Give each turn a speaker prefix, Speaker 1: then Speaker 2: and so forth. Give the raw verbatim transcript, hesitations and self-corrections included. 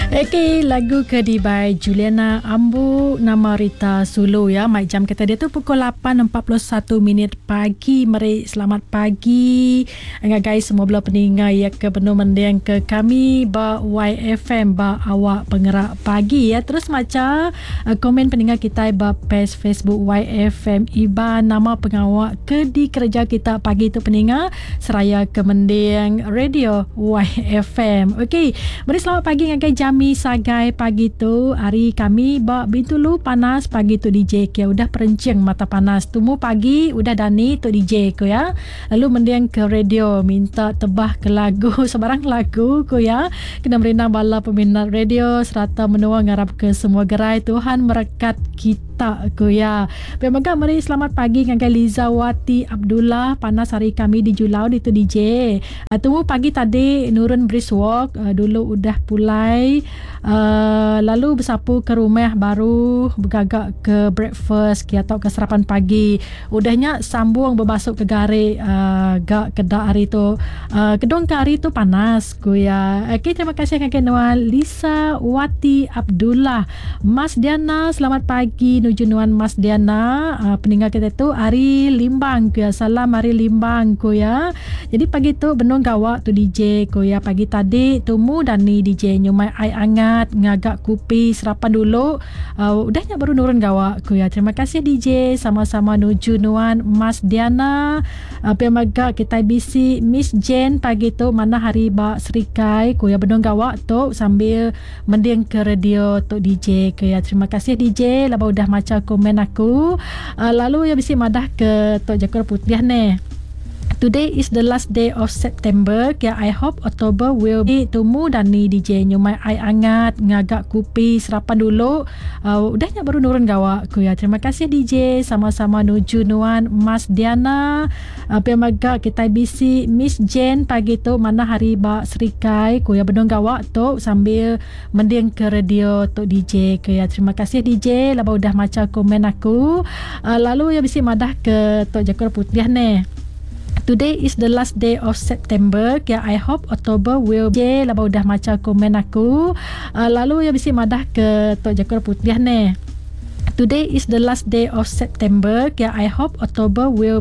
Speaker 1: Okey, lagu ke dibai Juliana Ambu nama Rita Sulu ya. Mai jam kita dia tu pukul lapan empat puluh satu minit pagi. Meri selamat pagi ngagai semua bela peninga ya ke penuh mending ke kami ba Y F M ba awak pengerak pagi ya. Terus maca uh, komen peninga kita ba page Facebook Y F M Iban nama pengawak ke dikerja kita pagi tu peninga seraya ke mending radio Y F M. Okey, meri selamat pagi ngagai Jami Sagai pagi tu. Hari kami ba Bintulu panas pagi tu D J ke udah perencing mata panas. Tumu pagi udah dani tu D J ko ya. Lalu mending ke radio minta tebah ke lagu sebarang lagu ko ya. Kena merindang bala peminat radio serata menua ngarap ke semua gerai Tuhan merekat kita ko ya. Pemega meri selamat pagi ngagai Liza Wati Abdullah panas hari kami di Julau di tu D J. Tumu pagi tadi nurun brisk walk dulu udah pulai. Uh, lalu bersapu ke rumah baru bergagak ke breakfast ke atau ke sarapan pagi. Udahnya sambung berbasuh ke garik uh, gak kedak hari tu. Uh, kedung ke hari tu panas ku ya. Okey, terima kasih kakek Nuan Lisa Wati Abdullah. Mas Diana, selamat pagi nuju Nuan Mas Diana. Uh, peninggal kita tu hari Limbang ku ya. Salam hari Limbang ku ya. Jadi pagi tu benung gawak tu D J ku ya. Pagi tadi tumu dan ni D J nyumai air hangat ngagak kopi sarapan dulu. Uh, udahnya baru nurun gawak ku ya. Terima kasih D J, sama-sama nuju Nuan Mas Diana. Uh, pemaga kita B C Miss Jane pagi tu mana hari ba Serikai ku ya benung gawak tu sambil mending ke radio tu D J ku ya. Terima kasih D J laba udah maca komen aku. Uh, lalu ya bisi madah ke tok Jakor Putih ne. Today is the last day of September. Kaya I hope October will be tumu dan ni D J nyumai air hangat ngagak kopi sarapan dulu. Uh, udahnya baru nurun gawak ku ya. Terima kasih D J, sama-sama nuju Nuan Mas Diana. Uh, pemaga kita B C Miss Jane pagi tu mana hari ba Serikai ku ya benung gawak tu sambil mending ke radio tu D J ku ya. Terima kasih D J laba udah maca komen aku. Uh, lalu ya bisi madah ke tok Jakor Putih ne. Today is the last day of September. Kaya I hope October will be laba udah maca komen aku. Uh, lalu ya bisi madah ke tok Jakor Putih ne. Today is the last day of September. Kaya I hope October will